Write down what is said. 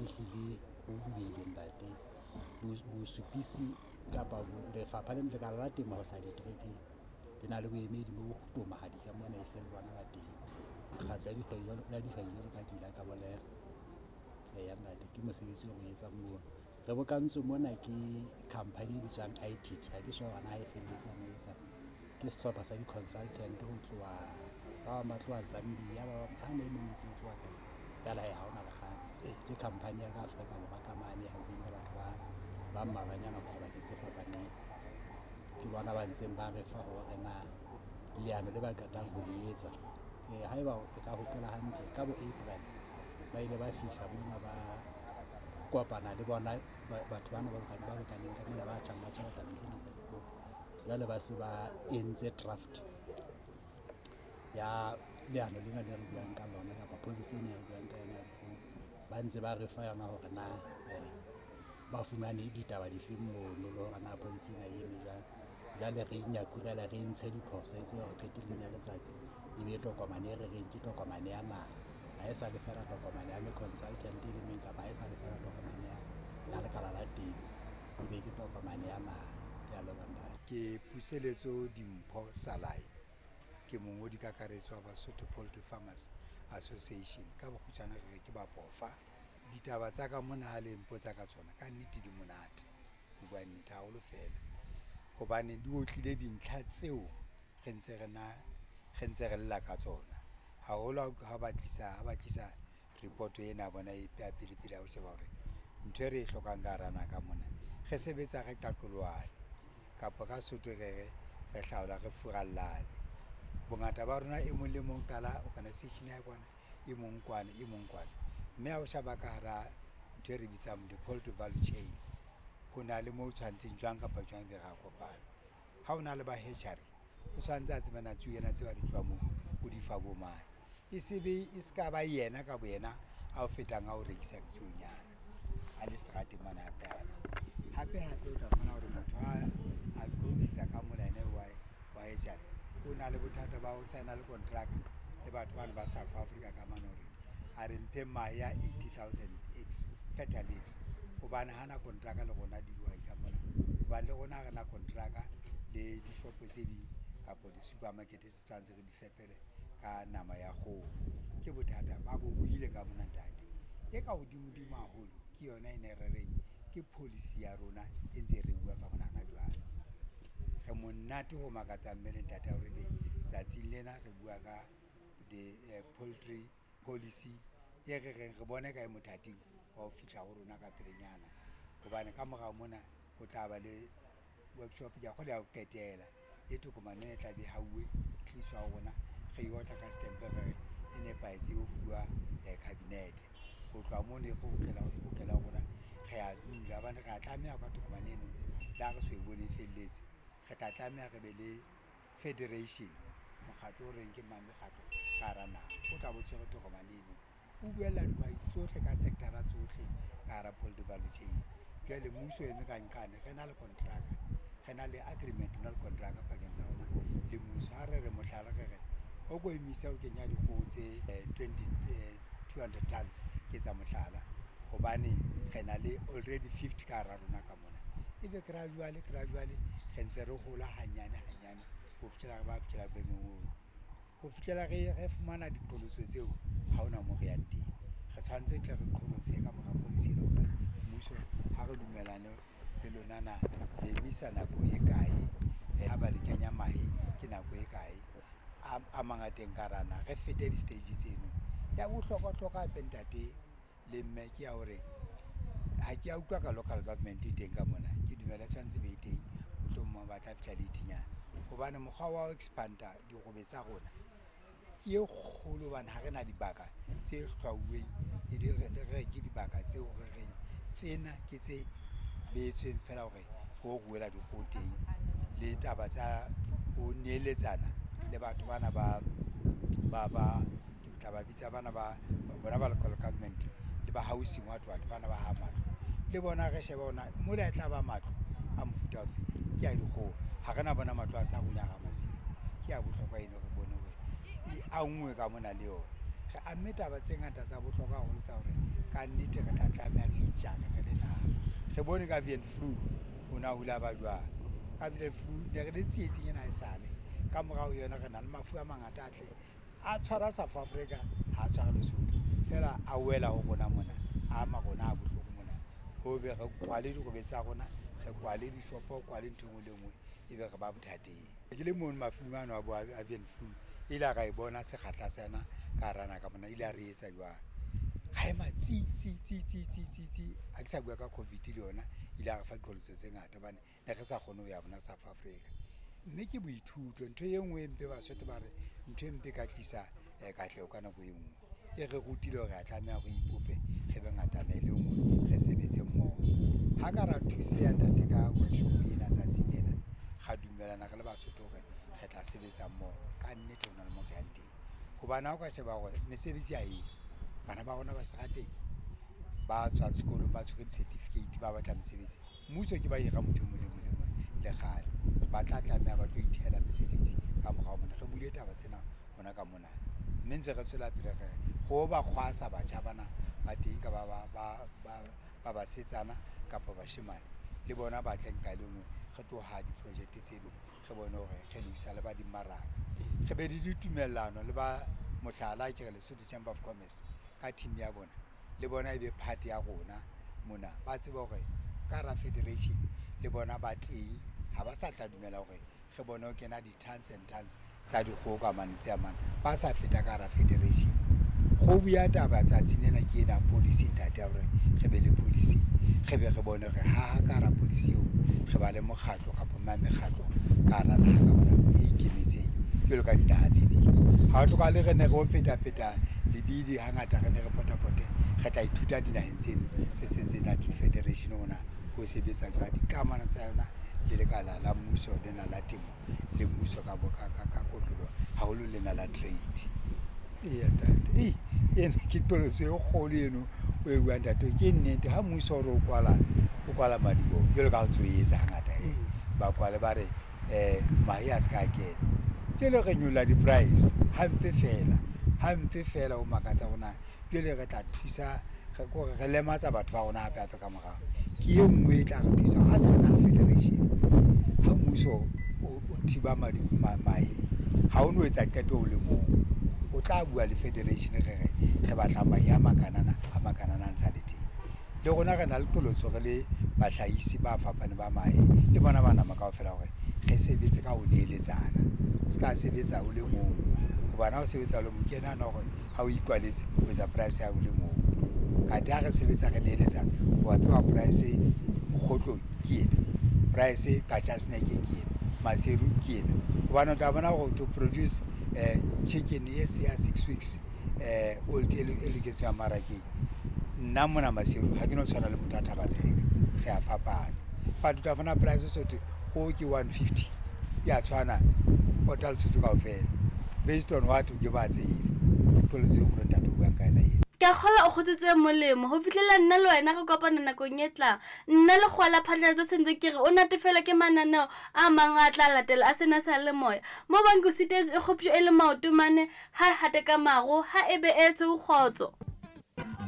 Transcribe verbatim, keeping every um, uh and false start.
Ehlile ho dubeile ntate. Bosupisi kapa lefapha lekala la temo ho hlaha diterekeng le na le boemedi bo tomahadi ka mona ehlile le bona ba teng. Mekgatlo ya ya dihwai jwalo ka ke ile ka bolela. Eya ntate, ke mosebetsi o re o etsang mono. Re bokantswe mona ke khampani e bitswang I T T, ha ke sure hore na e felletse e etsang. Ke sehlopha sa di-consultant ho tloha, ba bang ba tloha Zambia, ba bang hana e mong o itse o tloha kae. Feela hee ha hona le kgang. Ke khampani ya ka Afrika Borwa ka mane e hauweng ka batho ba ba mmalwanyana ho tswa bakeng tse fapaneng. Ke bona ba ntseng ba re fa hore na leano le ba qetang ho le etsa. Haeba o ka hopola hantle ka bo April ba ile ba fihla mona ba kopana le bona batho bana ba ba bokaneng ka mona ba tjhang ba tshwara tabeng tsena tsa dikgoho. Jwale ba se ba entse draft ya leano lena le re buang ka lona kapa policy ena e re buang ka yona ya dikgoho. Ba ntse ba re fa yona hore na ba fumane ditaba difeng mono le hore na policy ena e eme jwang. Jwale re inyakurela re ntshe diphoso e tsebe hore qetellong ya letsatsi e be tokomane e re reng ke tokomane ya naha. Ha e sa le feela tokomane ya consultant e le meng kapa ha e sa le feela tokomane ya ya lekala la temo, e be ke tokomane ya naha. Ke a leboha ntate. Ke Puseletso Dimpho Salai, ke mongodi kakaretso wa Basotho Poultry Farmers Association, ka bokgutshwane re re ke Bapofa. Ditaba tsa ka mona ha le mpotsa ka tsona ka nnete di monate ho bua nnete haholo fela, hobane di otlile dintlha tseo re ntse re na re ntse re lla ka tsona. Haholo ha ba tlisa ha ba tlisa report ena ya bona ya pele pele ya ho sheba hore ntho e re e hlokang ka hara naha ka mona re sebetsa re qaqolohane kapa ka Sesotho re re re hlaola re furallane. Bongata ba rona e mong le mong qala organisation ya hae kwana, e mong kwana, e mong kwana, mme ha o sheba ka hara ntho e re bitsang the poultry value chain, ho na le mo tshwantseng jwang kapa jwang ebe ra kopana. Ha o na le ba hatchery o tshwantse a tsebe na tsuonyana tseo ha di tloha moo o di fa bo mang, e se be e ska ba yena ka boyena ao fetang a o rekisa ditsuonyana a le seterateng mane hape hape. Hape hape o tla fumana hore motho ha a qhotsitsa ka mona ene wa wa hatchery o na le bothata ba ho sign-a le kontraka le batho bano ba South Africa ka mane hore a re mphe mahe a eighty thousand eggs, fertile eggs hobane hana kontraka le rona dihwai ka mona, hobane le rona ha rena kontraka le dishopo tse ding kapa di-supermarket tse tshwanetse re di fepele ka nama ya kgoho. Ke bothata ba bo buile ka mona ntate. E ka hodimodimo haholo ke yona ena e re reng ke policy ya rona e ntse re bua ka hona hana jwale. Re monate ho makatsang mme le ntate hore ebe tsatsing lena re bua ka the poultry policy e re reng re bone ka e mothating wa ho fihla ho rona ka pelenyana, hobane ka morao mona ho tla ba le workshop kea kgolwa ya ho qetela e tokomane ena e tla be e hauwe, e tliswa ho rona, re e otla ka setempe, re re e nepahetse e yo fuwa cabinet. Ho tloha mono e kgutlela e ho rona, re a dula hobane re a tlameha ka tokomane eno le ha re so e bone e felletse, re tla tlameha re be le federation, mokgatlo o reng ke mekgatlo ka hara naha, o tla be o tshwere tokomane eno. O buella dihwai tsohle ka sector-a tsohle ka hara poultry value chain. Jwale mmuso o eme ka nqane, re na le kontraka, re na le agreement not kontraka pakeng tsa rona le mmuso. Ha re re mohlala, re re o ko emise ho kenya dikgoho tse twenty two hundred tons ke etsa mohlala, hobane re na le already fifty ka hara rona ka mona, ebe gradually gradually re ntse re hola hanyane hanyane ho fihlela re ba fihlela boemong bono. Ho fihlela re fumana diqholotso tseo, ha hona moo re yang teng, re tshwantse tle re qholotse ka mora policy ena hore mmuso ha re dumellane le lona na le emisa nako e kae, ha ba le kenya mahe ke nako e kae a mang a teng ka hara naha, re fete di-stage tseno. Ya bohlokwa-hlokwa hape ntate le mme ke ya hore, ha ke a utlwa ka local government e teng ka mona, ke dumela e tshwanetse e be teng mohlomong ba tla fihla late-nyana hobane mokgwa wa ho expand-a dikgobe tsa rona ke e kgolo hobane ha re na dibaka tse hlwauweng, le re ke dibaka tseo re reng tsena ke tse behetsweng feela hore ho ruela dikgoho teng le taba tsa ho neletsana le batho bana ba ke tla ba bitsa bana ba bona ba local government le ba housing what what bana ba hahang matlo le bona re shebe hore na mola e tla ba matlo a mofuta ofeng, ke a dikgoho ha re na bona matlo a sa runya hara masimo. Ke ya bohlokwa eno re bone hore e anngwe ka mona le yona, re amme taba tse ngata tsa bohlokwa haholo tsa hore Ka nnete re tla tlameha re itjare re le naha. Re bone ka avian flu ho na hula ba jwang. Ka avian flu ne re le tsietsing ena haesale. Ka morao ho yona re na le mafu a mangata a tle a tshwara South Africa, ha a tshware Lesotho. Feela a wela ho rona mona, a ama rona ha bohloko mona. Ho be re kwale dikgwebo tsa rona, re kwale dishopo, kwale ntho e nngwe le e nngwe, ebe re ba bothateng. Ke le mono mafung ano a bo avian flu, ile ra e bona sekgahla sa yona ka hara naha ka mona, ile ya re etsa jwang. Ha ema tsi tsi tsi tsi tsi tsi tsi. Ha ke sa bua ka COVID le yona ile ya re fa diqholotso tse ngata hobane ne re sa kgone ho ya bona South Africa. Mme ke boithuto, ntho e nngwe e mpe Basotho ba re ntho e mpe e ka tlisa katleho ka nako e nngwe. E re rutile hore re tlameha re ipope, re be ngatana e le nngwe, re sebetse mmoho. Ha ka ra thuseha ntate ka workshop ena tsatsing lena, ra dumellana re le Basotho hore re tla sebetsa mmoho. Ka nnete hona le moo re yang teng. Hobane ha o ka sheba hore mesebetsi ha eyo, bana ba rona ba seterateng, ba tswang sekolong ba tshwere di-certificate ba batla mesebetsi. Mmuso ke ba hira motho e mong le mong le mong le kgale. Ba tla tlameha ba tlo ithehela mesebetsi ka morao mona. Re buile taba tsena hona ka mona. Mme ntse re tswela pele re ho ba kgwasa batjha bana ba teng ka ba ba ba basetsana kapa bashemane. Le bona ba tle nqa le nngwe, re tlo haha di-project tseno, re bone hore re lokisa le ba dimmaraka. Re be le ditumellano le ba, mohlala ke re Lesotho Chamber of Commerce ka team ya bona, le bona e be part ya rona mona. Ba tsebe hore ka hara federation le bona ba teng, ha ba sa tla dumela hore re bone ho kena di-tons and tons tsa dikgoho ka mane tse mane, ba sa feta ka hara federation. Kgobu ya taba tsatsing lena ke ena policy ntate ya hore re be le policy, re be re bone hore haha ka hara policy eo re ba le mokgatlo kapa mekgatlo ka hara naha ka mona e ikemetseng jwalo ka dinaha tse ding. Ha ho hlokahale re ne re o pheta-pheta lebidi hangata re ne re pota-pote, re tla ithuta dinaheng tseno tse seng tse na le di-federation hore na ho sebetsa jwang, dikamano tsa yona le lekala la mmuso lena la temo le mmuso ka ka kotloloho haholo lena la trade. Eya ntate, ena ke qholotso e kgolo eno o e buang ntate. Ke nnete ha mmuso o re o kwala, o kwala madiboho jwalo ka ha o ntso etsa hangata ba kwale ba re mahe a se ka kena. Jwale re nyolla di-price hampe feela, hampe feela ho makatsa hore na jwale re tla thusa kore re lematsa batho ba rona hape hape ka morao. Ke e nngwe e tla re thusa hore ha se re na le federation, ha mmuso o thiba mahe ha o no etsa qeto o le mong. O tla bua le federation re re re batla mahe a makanana a makanana a ntsa le teng. Le rona re na le qholotso re le bahlahisi ba fapaneng ba mahe le bona ba nama kaofela hore re sebetse ka ho neeletsana. O ska sebetsa o le mong hobane ha o sebetsa o le mong ke nahana hore ha o ikwaletse o etsa price ya o le mong. Kathe ha re sebetsa re neeletsana, wa tseba price Mokgotlong ke ena, price Qacha's Nek ke ena, Maseru ke ena. Hobane o tla bona hore to produce chicken e ya six weeks old e loketseng ho ya mmarakeng, nna mona Maseru ha ke no tshwana le motho a Thaba-Tseka, re a fapana. But o tla bona price so thwe kgoho ke one fifty ya tshwana pota Lesotho kaofela based on what ke ba tsebe. Ke qholotso e kgolo ntate o buang ka yona eno. Ke a kgolwa o kgotsotse molemo ho fihlela nna le wena re kopana nakong e tlang. Nna Lekgowa la Phatlalatso sentse ke re o natefelwa ke mananeo a mang a tla latela a sena sa le moya. Mo bang ke o sitetswe e kgoptjwe e le maoto mane, ha e hate ka maro, ha e be e tshweu kgotso.